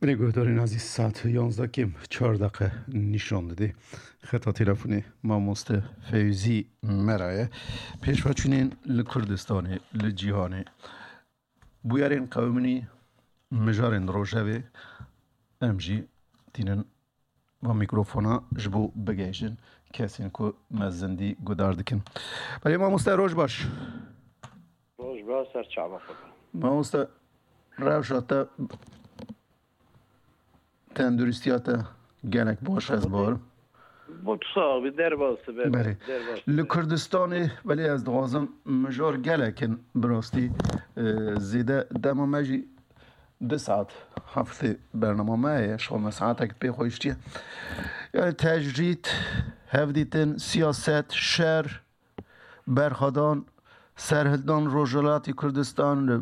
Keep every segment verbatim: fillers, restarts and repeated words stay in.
Belê guhdarên ezîz, saet yanzdeh kêm çar deqe nîşan dide. Xeta telefonê mamoste Fewzî me re ye. Pêşveçûnên li Kurdistanê, li cîhanê, bûyerên qewimînî mijarên rojevê, em jî tînin va mîkrofona ji bo bigihêjin kesên ku me zindî guhdar dikin. Belê mamoste, roj baş. Roj baş, ser çava xwe be. Mamoste, rewşa te, tenduristiya te gelek baş e, ez bawerim. Bo tu sax bî, derbas be. Belê. Derbas be. Li Kurdistanê, belê, ez dixwazim mijar gelek in, bi rastî, e, zêde dema me jî du saet heftê bernama me heye, şixwe me saetek pê xwe hiştiye. Yani tecrîd, hevdîtin, siyaset, şer, berxwedan, serhildan Rojhilatî Kurdistan, li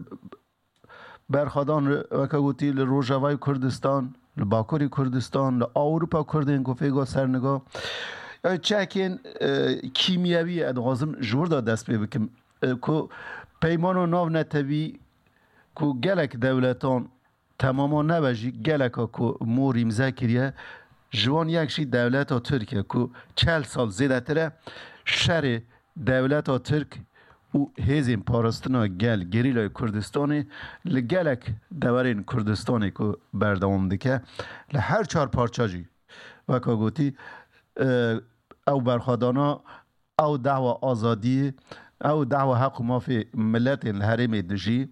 berxwedan li, weke gotî, li Rojavayê Kurdistan, li Bakurê Kurdistan, li Ewropa Kurdên ku fêga serniga. Yani çekên, e, kîmyewî, ez dixwazim ji wir de dest pê bikim, e, ku peymana navnetewî ku gelek dewletan, temama nebe jî, geleka ku mor îmze kiriye, ji wan yek jî dewleta Tirk e ku çel sal zêdetir e şerê dewleta Tirk û hêzên parastina gel, gerîlayê Kurdistanê, li gelek deverên Kurdistanê ku berdewam dike, li her çar parça jî, weka gotî, e, ew berxwedana, ew dehwa azadiyê, ew dehwa heq û mafê miletên li herêmê dijî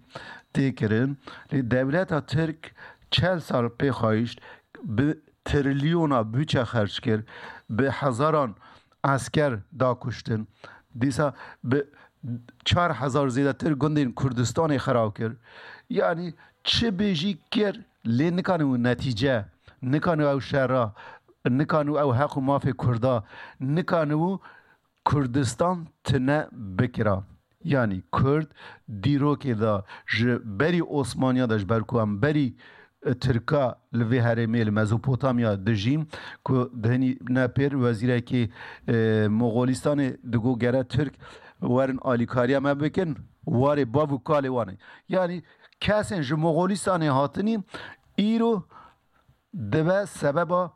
tê kirin. Lê dewleta Tirk çel sal pê xwe hişt, bi trilyona budçe xerc kir, bi hezaran esker da kuştin. Dîsa bi çar hezar zêdetir gundên Kurdistanê xerab kir. Yanî çi bêjî kir, lê nikanibû netîce, nikanibû ew şera, nikanibû ew heq û mafê Kurda, nikanibû Kurdistan tune bikira. Yanî Kurd dîrokê de ji berî Osmaniya de, ji ber ku em berî, e, Tirka li vê herêmê, li Mezopotamya dijîn, ku di hinî ne pêr wezîrekî, e, Moxolistanê digot gere Tirk werin alîkariya me bikin, warê bav û kalê wan e. Yanî kesên ji Moxolistanê hatinî îro dibe sebeba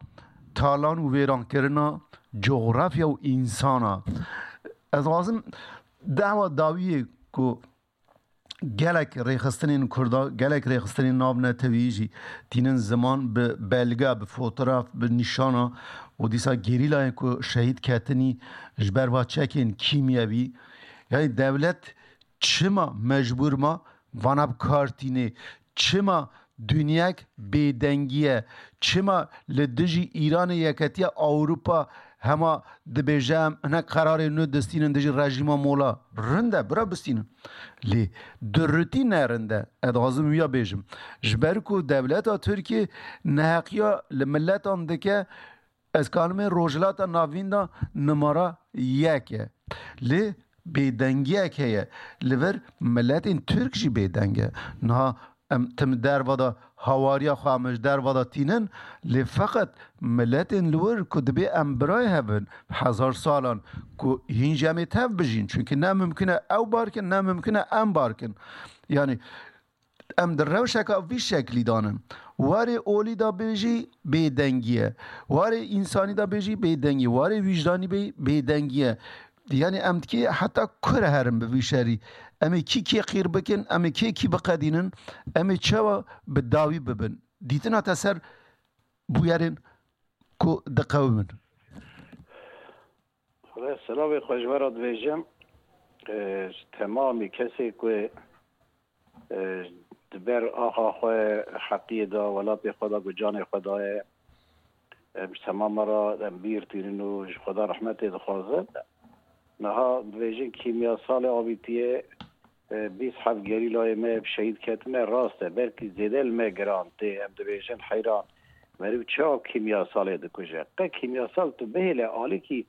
talan û vêrankirina cografya û însana. Ez dixwazim dehwa dawiyê ku gelek rêxistinên Kurda, gelek rêxistinên navnetewî jî tînin ziman, bi belge, bi fotoğraf, bi nîşana û dîsa gerîlayên ku şehîd ketinî ji ber va çekên kîmyewî. Yani dewlet çima mecbûr ma vana bi kar tînê? Çima dinyek bêdengî ye? Çima li dijî Îranê Yeketiya Ewropa hema dibêje, em hinek qerarê nû distînin dijî rejîma mola? Rind e, bira bistînin. Lê durutî ne rind e. Ez dixwazim wiya bêjim. Ji ber ku dewleta Tirkiyê neheqiya li miletan dike, ez kanimê Rojhilata Navîn de numara yek e. Lê bêdengiyek heye. Li vir miletên Tirk jî bêdeng e. Niha em tim derva de hawariya xwe, em ji derva de tînin, lê feqet miletên li wir ku dibê em birayê hev bin, hezar salan ku hîn jî em ê tev bijîn. Çunke ne mimkun e ew bar kin, ne mimkun e em bar kin. Yanî em di rewşeka vî şeklî de ne. Warê olî de bêjî bêdengî ye. Warê însanî de bêjî bêdengî. Warê wîjdanî bê bêdengî ye. Yanî em dikê heta kur herin bi vî şerî? Em ê kî kê qîr bikin? Em ê kê kî biqedînin? Em ê çawa bi dawî bibin? Dîtina te ser bûyerên ku diqewimin. Xwedê selavê xwe ji we re dibêjim. E, ji temamî kesê ku, e, di ber axa xwe heqiyê da, welatê xwe da, ku canê xwe daye, em ji temama re em bîr tînin û ji Xweda rehmetê dixwazin. Niha dibêjin kîmyasalê avîtiye, e, bîst heft gerîlayê me bi şehîd ketine, rast e. Belkî zêde li me giran tê, em dibêjin heyran, meriv çawa kîmyasalê dikuje? Qe kîmyasal tu bihêle alîkî,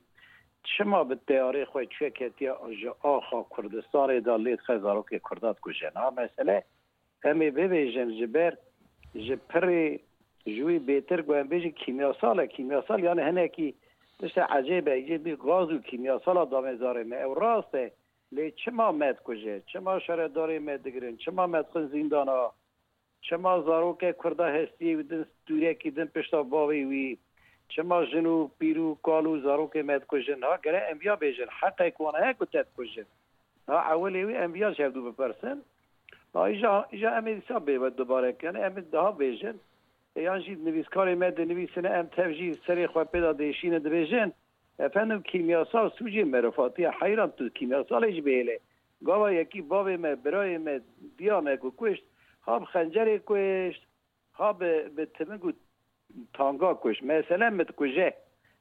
çima bi teyarê xwe çûye ketiye ji axa Kurdistanê de lê dixe zarokê Kurda dikuje? Niha mesele em ê bibêjin ji ber, ji pirê, ji wî bêtir ku em bêjin kîmyasal e. Kîmyasal yani hinekî tiştê ecêb e, yê bî gaz û kîmyasala damê zarê me. Ew rast e. Lê çima me dikuje? Çima şaredarê me digirin? Çima me dixin zîndana? Çima zaroke Kurda hestiyê wî din, stûrekî din pişta bavê wî? Çima jin û pîr û kal û zarokê me dikujin? Ha, gere em viya bêjin, heqek wan heye ku te dikujin. Ha, ewilê wî em viya ji hevdû bipirsin. Ha, îja, îja em ê dîsa bê we dubare kin, em ê daha bêjin. E, yan jî nivîskarê me dinivîsine, em tev jî serê xwe pê de dêşînin, dibêjin, efendim, kîmyasal sûcê merifatiye, heyran tu kîmyasalê jî bihêle. Gava yekî bavê me, birayê me, diya me ku kuşt, ha bi xencerê kuşt, ha bi, bi timing û tanga kuşt. Mesele min dikuje.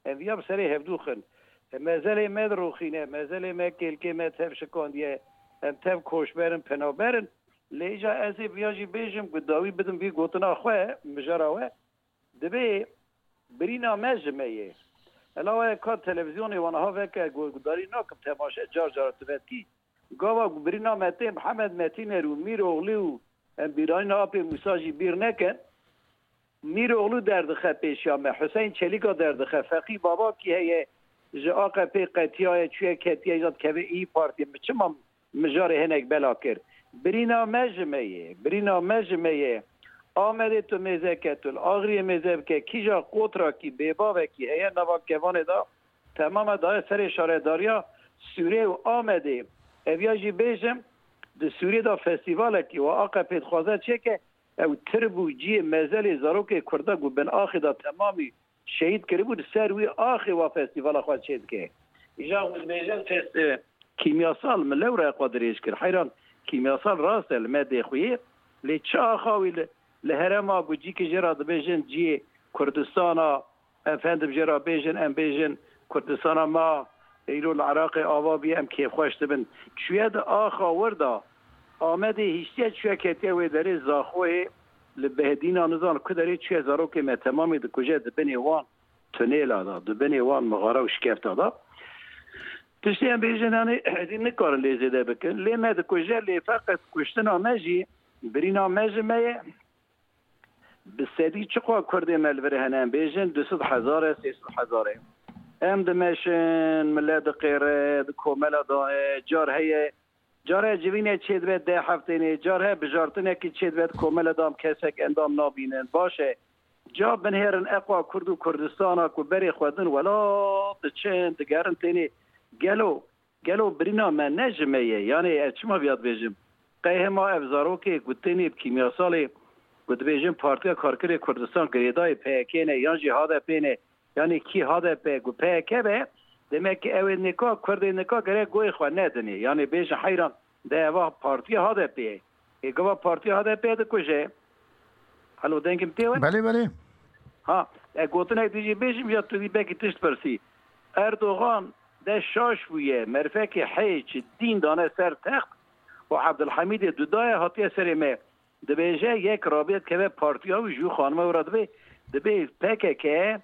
Em viya bi serê hevdû xin. E, mezelê me dirûxîne, mezelê me, kêlkê me tev şikandiye. Em tev koçber in, penaber in. Lê îja ez ê viya jî bêjim, ku dawî bidim vî gotina xwe, mijara we. Dibê birîna me ji me ye. Ela we ka televîzyonê wan aha veke, gu-, gudarî nakim, temaşe car car tu vetkî. Gava ku birîna me tê Mihemed Metîner û Mîroxlî û em bîranîna Apê Mûsa jî bîr nekin. Mîroxlî derdixe pêşiya me, Huseyîn Çelîka derdixe, Feqî Babakî heye, ji A Q P qetiyaye, çûye ketiye, îja dikeve İYİ Partiyê. Min çima mijarê hinek bela kir? Birîna me ji me ye, birîna me ji me ye. Amedê tu mêze ke, tu li Axiriyê mêze bike, kîja qotrakî, bêbavekî heye nava kevanê de, temame daye serê şaredariya Sûrê û Amedê. Ev ya jî bêjim, di Sûrê de festîvalekî wa A Q P dixwaze çêke, ew tir bû cihê mezelê zarokê Kurda ku bin axê de temamî şehîd kiribû, li ser wî axê wa festîvala xwe çêdike. Îja hûn dibêjin fest-, e, kîmyasal, min lewra xwe dirêj kir. Heyran, kîmyasal rast e, li me dê xuyê. Lê çi axa wî li, li herêma ku cîkî jê re dibêjin cihê Kurdistana, efendim, jê re bêjin, em bêjin, Kurdistana me îro li Iraqê ava bûye, em kêfxweş dibin. Çûye di axa wir de, Amedê hiştiye çûye ketiye wê derê Zaxoyê, li Behdîna nizan ku derê çûye, zarokê me temamê dikuje di binê wan tunêla de, di binê wan mixara û şikefta de. Tiştê em bêjin, yanî êdî nikarin lê zêde bikin. Lê me dikuje, lê feqet kuştina me jî, birîna me ji me ye. Bi sedî çiqas Kurdê me li vir hene, em bêjin du sed hezar e, sê sed hezar e. Em dimeşin, milet diqêre, di komela de ye, car heye, car heye civîne çêdibe deh heftênê, car heye bijartinekî çêdibe di komela de, em kesek endam nabînin. Baş e, ca binihêrin eqwa Kurd û Kurdistana ku berê xwe din welat diçin, digerin tênê. Gelo, gelo birîna me ne ji me ye? Yanê ez çima viya dibêjim? Qey hema ev zarokê ku tênê bi kîmyasalê, ku dibêjin Partiya Karkerê Kurdistan girêdayê P Y K ne, yan jî H D P ne, yanê kî H D P ku P Y K be, demek ki ew ê nika, Kurdê nika gerek goyê xwe nedinê. Yanê bêjin heyran, de eva partiya H D P ye. Ê gava partiya H D P dikuje. Helo, dengim tê we? Belê, belê. Ha, e, gotinek dî jî bêjim ya tu dî belkî tişt pirsî. Erdogan de şaş bûye, merfekê heyç dîn dane ser text û Abdulhamidê dudaye hatiye serê me. Dibêje yek rabiye dikeve partiya wî, ji xanime wira dibê, dibê P K K,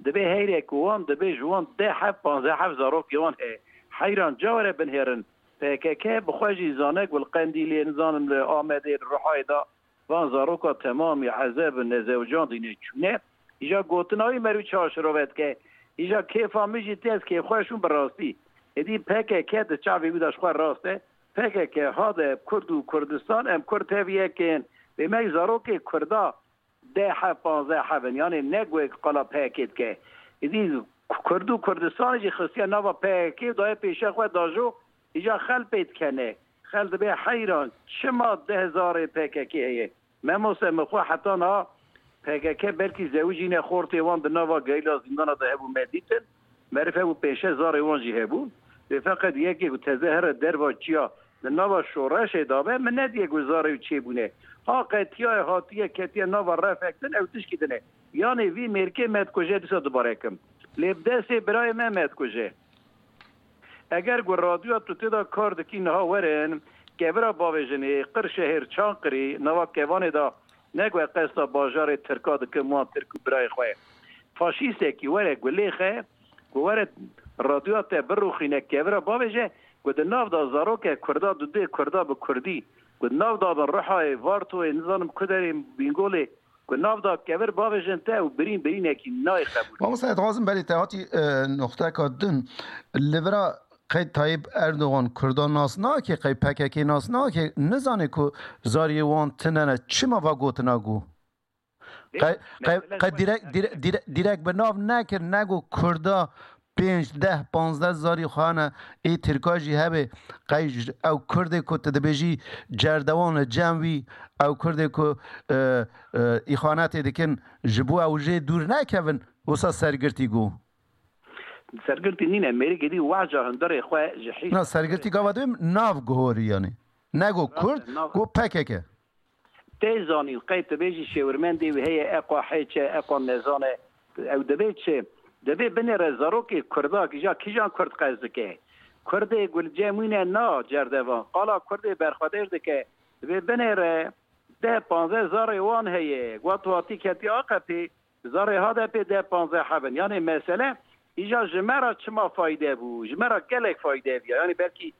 dibê heyrek wan, dibê ji wan deh heb, panzdeh heb zarokê wan heye. Heyran, ca were binhêrin. P K K bi xwe jî zane ku li Qendîlê, nizanim li Amedê, li Rihayê de van zaroka temamî ezeb in, nezewicandîne, çûne. Îja gotina wî merû çaşirove dike. Îja kêfa min jî tê, ez kêfxweş bûm bi rastî. Êdî P K K di çavê wî de ji xwe rast e. P K K, H D P, Kurd û Kurdistan, em Kurd tev yek in. Bê me zarokê Kurda deh heb, panzdeh heb in. Yanê ne ku qala P K K dike. Êdî Kurd û Kurdistanê jî xistiye nava P K K û daye pêşiya xwe dajo, îja xel pê dikene. Xel dibê heyran, çima deh zarê P K K heye? Memoste, min xwe heta niha P K K belkî zewicîne, xortê wan di nava gerîla zîndana de hebû, me dîtin. Merî hebû pênc şeş zarê wan jî hebûn. Lê feqet yekê ku teze here derva çiya di nava şoreşê de be, min nediye ku zarê wî çêbûne. Ha qetiyaye, hatiye, ketiye nava refek din, ew tişkî din e. Yanê vî mêrkê me dikuje, dîsa dubare kim. Lê bi destê birayê me me dikuje. Eger ku radyoya tu tê de kar dikî niha werin, kevira bavêjinê, Qirşehir, Çankirî, nava kevanê de, ne ku qesta bajarê Tirka dikim, wan Tirk û birayê xwe ye. Faşîstekî were gulê xe, ku were radyoya te birûxîne, kevira bavêje, ku di nav da zaroke Kurda, dudê Kurda bi Kurdî, ku di nav da bin Rihayê, Vartoyê, nizanim ku derê, Bîngolê, ku nav da kevir bavêjin te û birîn birînekî nayê qebûl. Mamoste, ez dixwazim berê te hatî, e, noxteka din. Li vira qey Tayyip Erdogan Kurdan nas nake, qey P K K nas nake, nizane ku zariyê wan tune ne. Çima va gotina got? Qey, qey, qey direk, direk, direk, direk bi nav nekir, nego Kurda pênc, deh, panzdeh zarî xwe hene, ê Tirka jî hebe, qey ji, ew Kurdê ku tu dibêjî cerdewan li cem wî, ew Kurdê ku, e, e, îxanetê dikin, ji bo ew jê dûr nekevin, wisa sergirtî got. Sergirtî nîne, mêrik êdî wehca hundirê xwe ji hîs. Na, sergirtî gava dibê nav guhorî yanî. Nego Kurd, nav- got P K K. Tê zanîn, qey tu bêjî şêwirmendê wî heye, eqa hêç e, eqa nezan e. Ew divê çi? Divê binêre zarokê Kurda, kîja, kîjan Kurd qez dike? Kurdê gulcemîne na cerdevan. Qala Kurdê berxwedêr dike. Divê binêre deh panzdeh zarê wan heye. Wat watî ketî A K P, zarê H D P deh panzdeh hebin. Yanê mesele, îja ji me re çima fayde bû? Ji me re gelek fayde bû. Yanî belkî,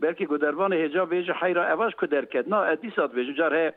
belkî ku dervanê hêca bêje heyra eva ji ku derket. Na, ez dîsa dibêjim, car he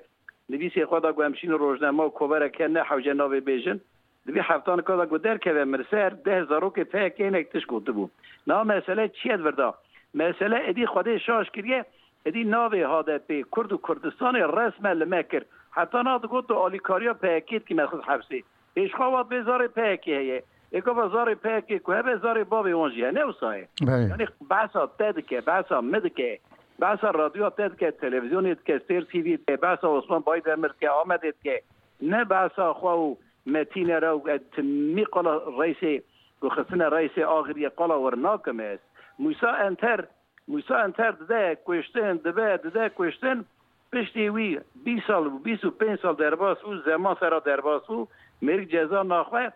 nivîsê xwe da ku em şînin rojnama û koverek hene hewce navê bêjin. Divê heftanika da ku derkeve min ser deh zarokê P K K hinek tişt gotibû. Na mesele çi ye di vir da? Mesele êdî Xwedê şaş kiriye, êdî navê H D P, Kurd û Kurdistanê resmen li me kir. Heta na digot tu alîkariya P K K dikî me xist hepsê. Ê ji xwe wat bê zarê P K K heye. Ê gava zarê P K K ku hebe zarê bavê wan jî hene wisa ye. Belê. Yanî behsa te dike, behsa min dike. Behsa radyoya te dike, televîzyonê dike, Sêr T V dike, behsa Osman Baydemir dike, Amedê dike. Ne behsa xwe û Metîne re û timî qala reysê ku xistine reysê Axiriyê qala wir nakim ez. Mûsa Enter, Mûsa Enter dide kuştin, dibe, dide kuştin. Piştî wî bîst sal bû, bîst û pênc sal derbas bû, zeman sera derbas bû, mêrik ceza naxwe.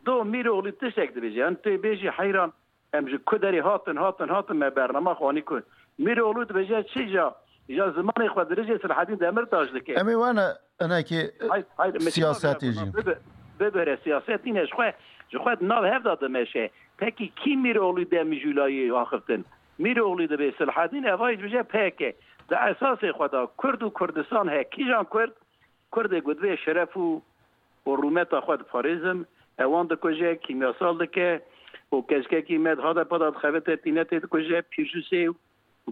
Do Mîroğlu tiştek dibêje. Yanî tê bêjî heyran, em ji ku derê hatin, hatin, hatin, me bernama xwe anî ku. Mîroğlu dibêje çi ja, ja zimanê xwe dirêjê Silahedîn Demirtaş dike. Em ê wene hinekî Hayır, hayır, Metin abi, siyasetê ya, jî. Bibi-, bibire siyaset nîne, ji xwe, ji xwe di nav hev de dimeşe. Pekî kî Mîroğlu de mijûlayê axiftin? Mîroğlu dibê Silahedîn, eva jî dibêje P K K. Di esasê xwe de Kurd û Kurdistan heye. Kîjan Kurd? Kurdê ku divê şeref û, û rûmeta xwe diparêzin, ewan dikuje, kîmyasal dike û keçkekî me di H D P de dixebite tînetê dikuje, Pîrjûsê û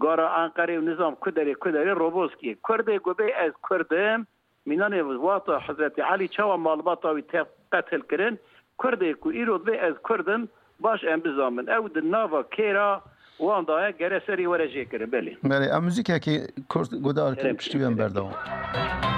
gara Enqerê û nizam ku derê, ku derê Roboskiyê. Kurdê ku bê ez Kurd im, mînanê wata Hezretî Elî çawa malbata wî tê qetil kirin? Kurdê ku îro divê ez Kurd im, baş em bizamin. Ew di nava kêra wan de ye, gere serî were jêkirin. Belê. Belê, em muzîkekê kurt guhdar kin, piştî wê em berdewam.